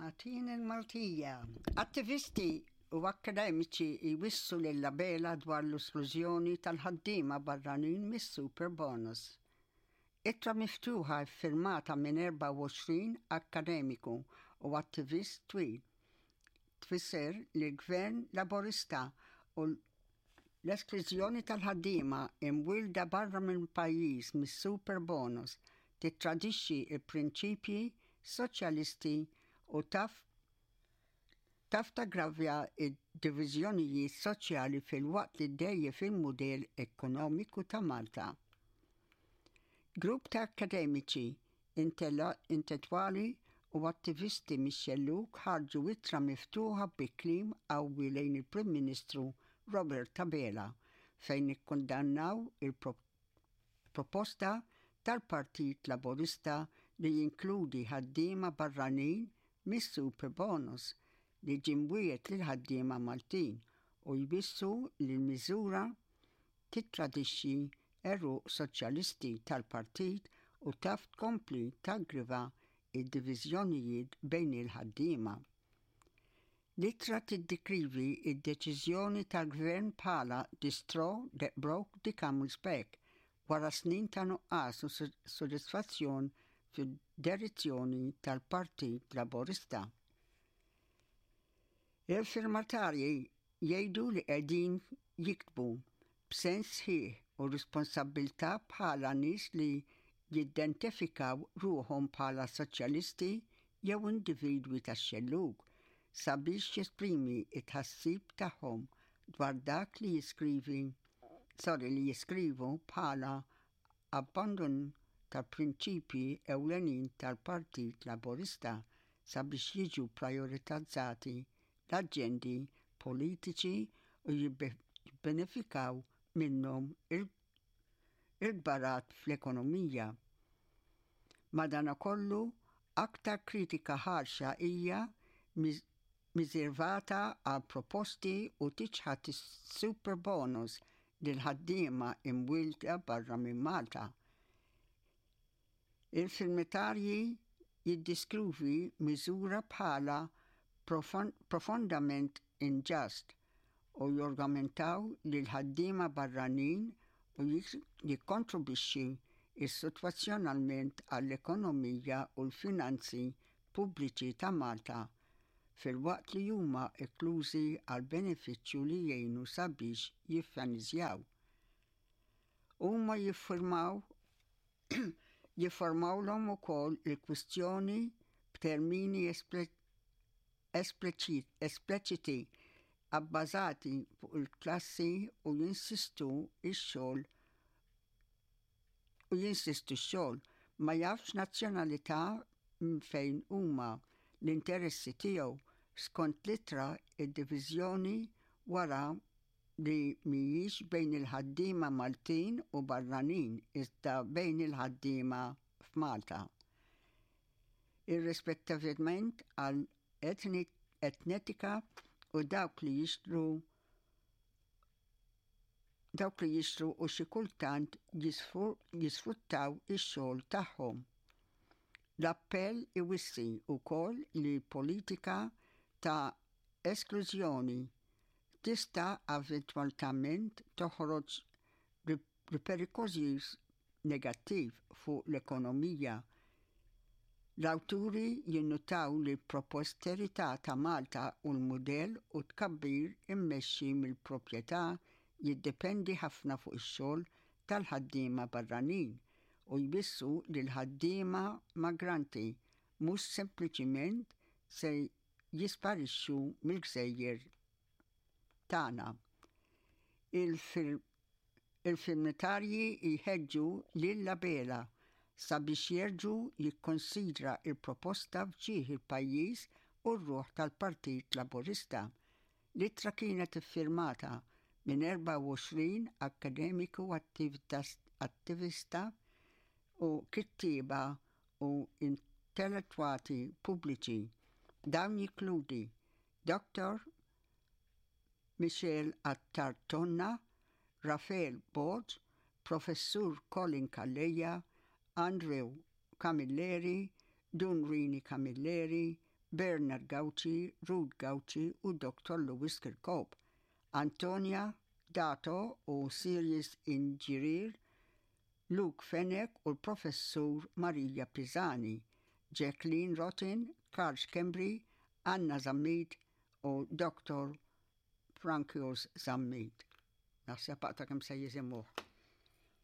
Agħtini l-Maltija. Attivisti u akkademiċi jwissu lil Abela dwar l-esklużjoni tal-ħaddiema barranin mis-Superbonus. Ittra miftuħa ffirmata minn 24 akkademiku u attivist twil tfisser li l-Gvern Laburista u l-esklużjoni tal-ħaddiema imwielda barra mill-pajjiż mis-Superbonus tittradixxi l-prinċipji soċjalisti u taf taf taggravja d-diviżjonijiet soċjali filwaqt li ddgħajjef il-mudell ekonomiku ta' Malta. Grupp ta' akkademiċi, intellettwali u attivisti mix-xellug ħarġu ittra miftuħa bi kliem qawwi lejn il-Prim Ministru Robert Abela fejn ikkundannaw il-proposta tal-Partit Laburista li jinkludi ħaddiema barranin mis-Superbonus li ġie mwiegħed lill-ħaddiema Maltin u jwissu li l-miżura tittradixxi għeruq soċjalisti tal-partit u taf tkompli taggriva d-diviżjonijiet bejn il-ħaddiema. L-ittra tiddikrivi d-deċiżjoni tal-Gvern bħala the straw that broke the camel's back wara snin ta' nuqqas u sodisfazzjon fid-direzzjoni tal-Partit Laburista. Il-firmatarji jgħidu li qegħdin jiktbu b'sens sħiħ u responsabbiltà bħala nies li jiddentifikaw ruħhom bħala soċjalisti jew individwi tax-xellug sabiex jesprimi t-tħassib tagħhom dwar dak li jiskrivi sorry li jiskrivu bħala abbandun tal-prinċipji ewlenin tal-Partit Laburista sabiex jiġu prijoritizzati l-aġendi politiċi u jibbenefikaw minnhom il-kbarat fl-ekonomija. Madanakollu, aktar kritika ħarxa hija miżervata għal proposti u tiċħad is-superbonus lil ħaddiema imwielda barra minn Malta. Il-firmatarji jiddeskrivu miżura bħala profondament inġust u jorgumentaw li l-ħaddiema barranin u jikkontribwixxi sostanzjalment għall-ekonomija u l-finanzi pubbliċi ta' Malta filwaqt li huma esklużi għal benefiċċju li jgħinu sabiex jiffinanzjaw. Huma jiffirmaw jifformawlhom ukoll il-kwistjoni b'termini espliċiti abbażati fuq il-klassi u jinsistu x-xogħol u jinsistu x-xogħol ma jafx nazzjonalità fejn huma l-interessi tiegħu skont l-ittra id-diviżjoni wara li mhijiex bejn il-ħaddiema Maltin u barranin iżda bejn il-ħaddiema f'Malta. Irrispettivament għal etnetika u dawk li jixtru dawk li jixtru u xi kultant jisfruttaw ix-xogħol tagħhom. L-appell iwissi wkoll li politika ta' esklużjoni tista' eventwalment toħroġ riperkussjonijiet negattiv fuq l-ekonomija. L-awturi jinnutaw li l-prosperità ta' Malta u l-mudell u tkabbir immexxi mill-proprjetà jiddependi ħafna fuq ix-xogħol tal-ħaddiema barranin u jwissu li l-ħaddiema migranti mhux sempliċiment se jisparixxu mill-gżejjer tagħna. Il-firmatarji jħeġġu lil Abela sabiex jerġa' jikkonsidra il-proposta f'ġieħ il-pajjiż u r-ruħ tal-Partit Laburista. L-ittra kienet iffirmata minn 24 akkademiku attivista u kittieba u intellettwali pubbliċi. Dawn jinkludi Dr. Michelle Attard Tonna, Rafael Borg, Professur Colin Calleja, Andrew Camilleri, Dun Rini Camilleri, Bernard Gauci, Ruth Gauci u Dr. Louis Kirkop, Antonia Dato u Sirius Inġirir, Luke Fenech u l-Professur Maria Pisani, Jacqueline Rotin, Karl Schembri, Anna Zammit u Dr. Frankios Zammit. Naħseb aqta' kemm se jisimgħuh.